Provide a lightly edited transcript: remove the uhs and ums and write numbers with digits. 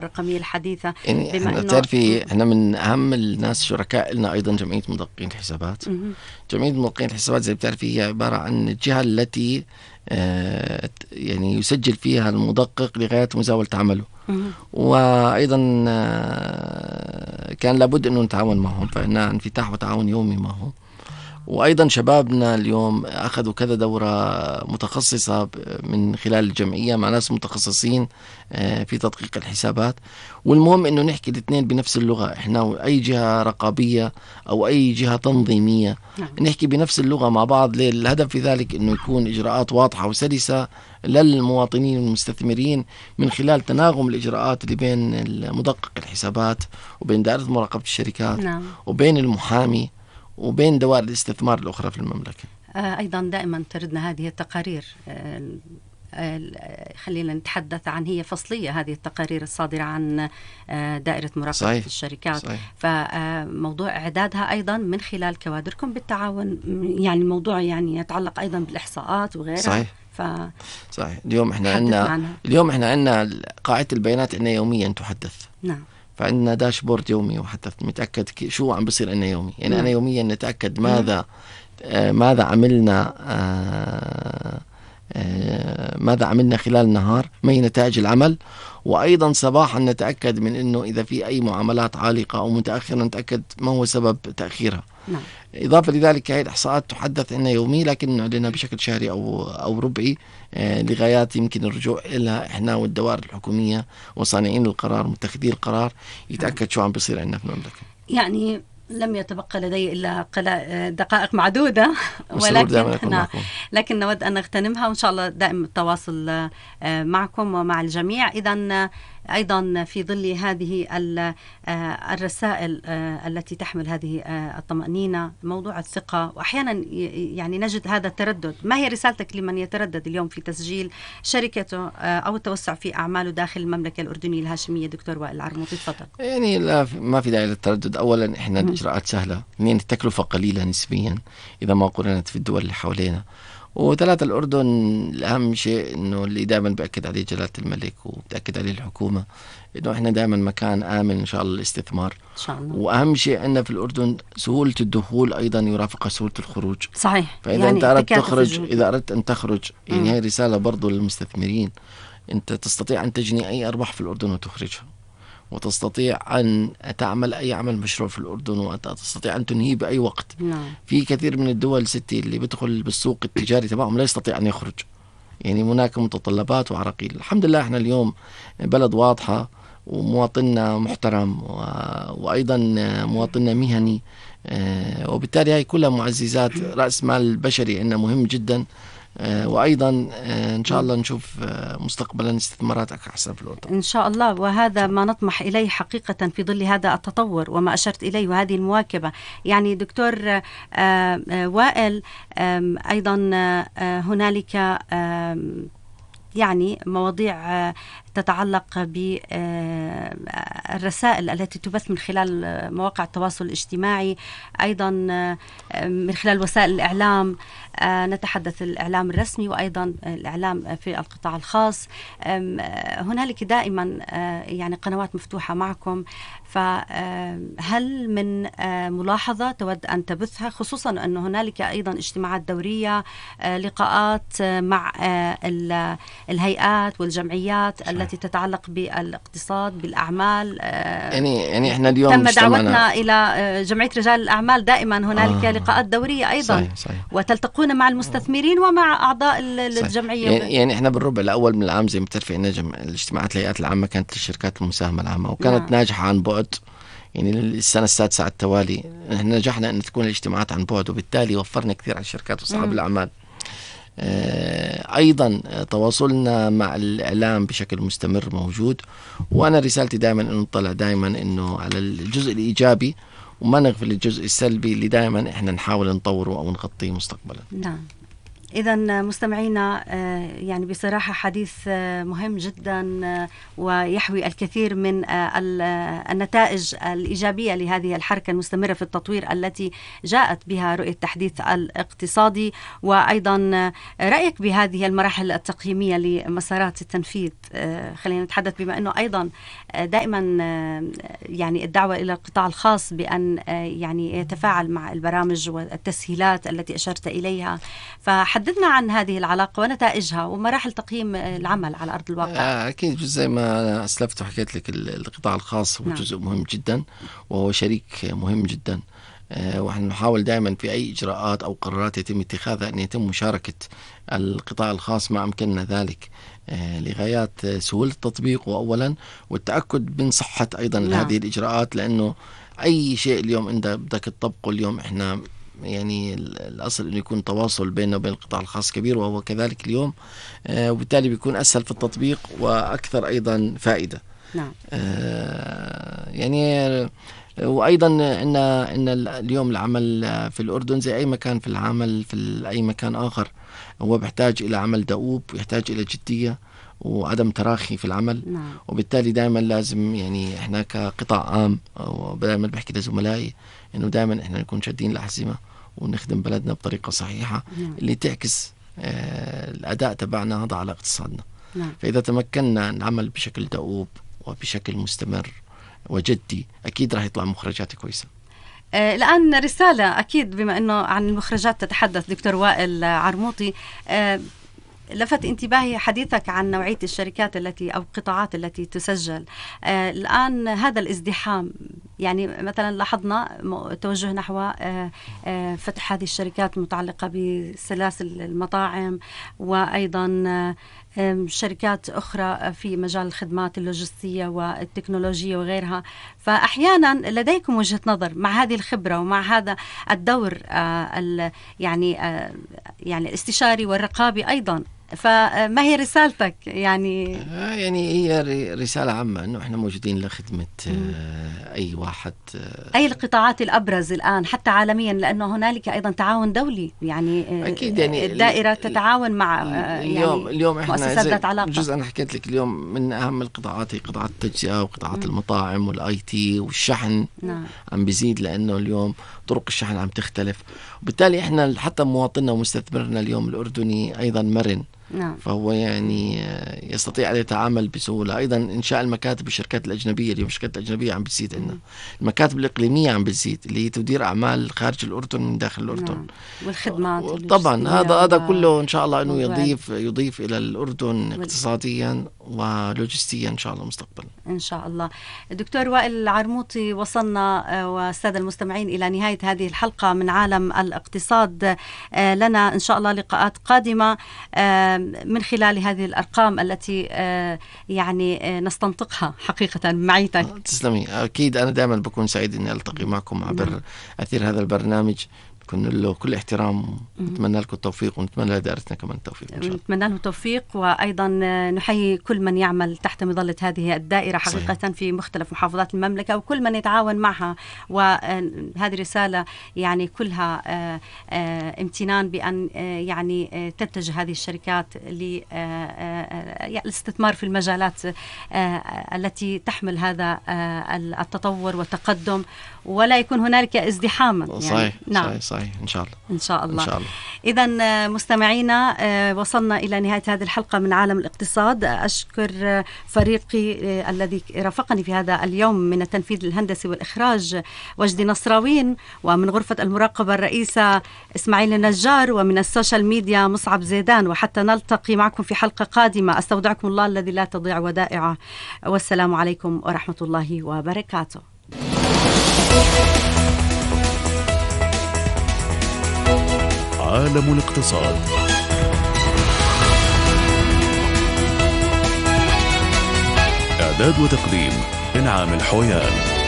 الرقمية الحديثة. يعني بما احنا إنه بتعرفي احنا من اهم الناس شركاء لنا ايضا جمعية مدققين الحسابات. جمعية مدققين الحسابات زي بتعرفي هي عبارة عن الجهة التي يعني يسجل فيها المدقق لغاية مزاولة عمله. وأيضا كان لابد أنه نتعاون معهم، فإننا انفتاح وتعاون يومي معهم. وأيضا شبابنا اليوم أخذوا كذا دورة متخصصة من خلال الجمعية مع ناس متخصصين في تدقيق الحسابات. والمهم أنه نحكي الاثنين بنفس اللغة، إحنا أي جهة رقابية أو أي جهة تنظيمية نحكي بنفس اللغة مع بعض. الهدف في ذلك أنه يكون إجراءات واضحة وسلسة للمواطنين والمستثمرين من خلال تناغم الإجراءات اللي بين مدقق الحسابات وبين دائرة مراقبة الشركات وبين المحامي وبين دوائر الاستثمار الأخرى في المملكة. أيضا دائما تردنا هذه التقارير، خلينا نتحدث عن هي فصلية هذه التقارير الصادرة عن دائرة مراقبة الشركات. صحيح. فموضوع إعدادها أيضا من خلال كوادركم بالتعاون، يعني الموضوع يعني يتعلق أيضا بالإحصاءات وغيرها. صحيح. صحيح. اليوم احنا عندنا قاعدة البيانات عندنا يوميا تحدث. نعم. فعندنا داشبورد يومي وحتى نتأكد شو عم بصير عندنا يومي. يعني أنا يوميا نتأكد ماذا عملنا ماذا عملنا خلال النهار، ما هي نتائج العمل. وأيضا صباحا نتأكد من أنه إذا في أي معاملات عالقة أو متأخرة نتأكد ما هو سبب تأخيرها. نعم. إضافة لذلك هذه الإحصاءات تحدث عنا يومي، لكن نعلنها بشكل شهري أو ربعي لغايات يمكن الرجوع إلى إحنا والدوائر الحكومية وصانعين القرار ومتخذي القرار يتأكد شو عم بيصير عندنا في المملكة. يعني لم يتبقى لدي إلا دقائق معدودة، لكن نود أن نغتنمها، وإن شاء الله دائما التواصل معكم ومع الجميع. إذن أيضا في ظل هذه الرسائل التي تحمل هذه الطمأنينة، موضوع الثقة، وأحيانا يعني نجد هذا التردد. ما هي رسالتك لمن يتردد اليوم في تسجيل شركته أو التوسع في أعماله داخل المملكة الأردنية الهاشمية؟ دكتور وائل العرموطي، تفضل. يعني لا، ما في داعي للتردد. أولا إحنا الإجراءات سهلة، اثنين التكلفة قليلة نسبيا إذا ما قارنت في الدول اللي حوالينا، وثلاثة الأردن الأهم شيء إنه اللي دائما بأكد عليه جلالة الملك وبتأكد عليه الحكومة إنه إحنا دائما مكان آمن إن شاء الله للاستثمار إن شاء الله. وأهم شيء عندنا في الأردن سهولة الدخول أيضا يرافقها سهولة الخروج. صحيح. فإذا يعني أنت أردت تخرج، إذا أردت أن تخرج، يعني هي رسالة برضو للمستثمرين، أنت تستطيع أن تجني أي أرباح في الأردن وتخرجها، وتستطيع أن تعمل أي عمل مشروع في الأردن، وتستطيع أن تنهيه بأي وقت. في كثير من الدول ستي اللي بيدخل بالسوق التجاري تبعهم لا يستطيع أن يخرج، يعني هناك متطلبات وعراقيل. الحمد لله احنا اليوم بلد واضحة ومواطننا محترم وأيضا مواطننا مهني، وبالتالي هاي كلها معززات. رأس مال بشري عندنا مهم جدا، وأيضا إن شاء الله نشوف مستقبلا استثمارات أحسن في الأردن إن شاء الله، وهذا ما نطمح إليه حقيقة في ظل هذا التطور وما أشرت إليه وهذه المواكبة. يعني دكتور وائل، أيضا هنالك يعني مواضيع تتعلق بالرسائل التي تبث من خلال مواقع التواصل الاجتماعي، أيضا من خلال وسائل الإعلام، نتحدث الإعلام الرسمي وأيضا الإعلام في القطاع الخاص. هنالك دائما يعني قنوات مفتوحة معكم، فهل من ملاحظة تود أن تبثها، خصوصا أن هنالك أيضا اجتماعات دورية، لقاءات مع الهيئات والجمعيات التي تتعلق بالاقتصاد بالأعمال؟ يعني احنا اليوم تم دعوتنا إلى جمعية رجال الأعمال، دائما هنالك لقاءات دورية أيضا. صحيح. وتلتقون مع المستثمرين ومع أعضاء الجمعية. يعني احنا بالربع الأول من العام زي ما بتعرفي إن الاجتماعات الهيئات العامة كانت للشركات المساهمة العامة، وكانت ناجحة عن بعد. يعني السنة السادسة على التوالي احنا نجحنا أن تكون الاجتماعات عن بعد، وبالتالي وفرنا كثير على الشركات وصحاب الأعمال. أيضا تواصلنا مع الإعلام بشكل مستمر موجود، وأنا رسالتي دائما أن نطلع دائما أنه على الجزء الإيجابي وما نغفل الجزء السلبي اللي دائما إحنا نحاول نطوره أو نغطيه مستقبلا. نعم. إذا مستمعينا، يعني بصراحة حديث مهم جدا ويحوي الكثير من النتائج الإيجابية لهذه الحركة المستمرة في التطوير التي جاءت بها رؤية التحديث الاقتصادي، وأيضا رأيك بهذه المراحل التقييمية لمسارات التنفيذ. خلينا نتحدث بما أنه أيضا دائما يعني الدعوة إلى القطاع الخاص بأن يعني يتفاعل مع البرامج والتسهيلات التي أشرت إليها، فحدثنا عن هذه العلاقة ونتائجها ومراحل تقييم العمل على أرض الواقع. أكيد زي ما أنا أسلفت وحكيت لك، القطاع الخاص هو جزء مهم جدا وهو شريك مهم جدا، ونحن نحاول دائما في أي إجراءات أو قرارات يتم اتخاذها أن يتم مشاركة القطاع الخاص ما أمكننا ذلك لغايات سهولة التطبيق وأولا والتأكد من صحة أيضا هذه الإجراءات، لأنه أي شيء اليوم أنت بدك تطبقه اليوم إحنا يعني الأصل أنه يكون تواصل بيننا وبين القطاع الخاص كبير، وهو كذلك اليوم، وبالتالي بيكون أسهل في التطبيق وأكثر أيضا فائدة. نعم. يعني وأيضا إن اليوم العمل في الأردن زي أي مكان في العمل في أي مكان آخر هو بيحتاج إلى عمل دؤوب، ويحتاج إلى جدية وعدم تراخي في العمل. نعم. وبالتالي دائما لازم يعني إحنا كقطاع عام، ودائما بحكي لزملائي إنه دائما إحنا نكون شادين الأحزمة ونخدم بلدنا بطريقة صحيحة. نعم. اللي تعكس الأداء تبعنا هذا على اقتصادنا. نعم. فإذا تمكنا نعمل بشكل دؤوب وبشكل مستمر وجدي أكيد راح يطلع مخرجات كويسة. الآن رسالة أكيد بما أنه عن المخرجات تتحدث دكتور وائل عرموطي، لفت انتباهي حديثك عن نوعية الشركات التي أو القطاعات التي تسجل. الآن هذا الازدحام، يعني مثلا لاحظنا توجه نحو فتح هذه الشركات المتعلقة بسلاسل المطاعم، وأيضا شركات أخرى في مجال الخدمات اللوجستية والتكنولوجية وغيرها. فأحيانا لديكم وجهة نظر مع هذه الخبرة ومع هذا الدور يعني الاستشاري والرقابي أيضا، فما هي رسالتك؟ يعني هي رسالة عامة أنه إحنا موجودين لخدمة أي واحد. أي القطاعات الأبرز الآن حتى عالميا، لأنه هنالك أيضا تعاون دولي، يعني أكيد يعني الدائرة تتعاون مع اليوم إحنا مؤسسات ذات علاقة. جزء أنا حكيت لك اليوم من أهم القطاعات هي قطاعات التجزئة وقطاعات المطاعم والآي تي والشحن. نعم. عم بيزيد لأنه اليوم طرق الشحن عم تختلف، وبالتالي إحنا حتى مواطننا ومستثمرنا اليوم الأردني أيضا مرن. نعم. فهو يعني يستطيع أن يتعامل بسهولة. أيضا إنشاء المكاتب والشركات الأجنبية، اليوم الشركات الأجنبية عم بتزيد عندنا، المكاتب الإقليمية عم بتزيد اللي هي تدير أعمال خارج الأردن من داخل الأردن. نعم. والخدمات طبعا هذا كله إن شاء الله أنه يضيف إلى الأردن اقتصاديا ولوجستيا إن شاء الله مستقبلا. إن شاء الله. الدكتور وائل العرموطي، وصلنا والسادة المستمعين إلى نهاية هذه الحلقة من عالم الاقتصاد. لنا إن شاء الله لقاءات قادمة من خلال هذه الأرقام التي يعني نستنطقها حقيقة معيتك. تسلمي. أكيد أنا دائما بكون سعيد أني ألتقي معكم عبر أثير هذا البرنامج، كن له كل احترام. نتمنى لكم التوفيق ونتمنى لدائرتنا كمان التوفيق إن شاء الله. نتمنى لهم التوفيق، وأيضا نحيي كل من يعمل تحت مظلة هذه الدائرة حقيقة. صحيح. في مختلف محافظات المملكة وكل من يتعاون معها، وهذه رسالة يعني كلها امتنان بأن يعني تتجه هذه الشركات للاستثمار في المجالات التي تحمل هذا التطور والتقدم، ولا يكون هنالك ازدحاما. صحيح. يعني نعم. صحيح. إن شاء الله. إن شاء الله. إذن مستمعينا، وصلنا إلى نهاية هذه الحلقة من عالم الاقتصاد. أشكر فريقي الذي رافقني في هذا اليوم من التنفيذ الهندسي والإخراج وجدي نصراوين، ومن غرفة المراقبة الرئيسة إسماعيل النجار، ومن السوشيال ميديا مصعب زيدان. وحتى نلتقي معكم في حلقة قادمة، أستودعكم الله الذي لا تضيع ودائعه، والسلام عليكم ورحمة الله وبركاته. عالم الاقتصاد. إعداد وتقديم إنعام الحويان.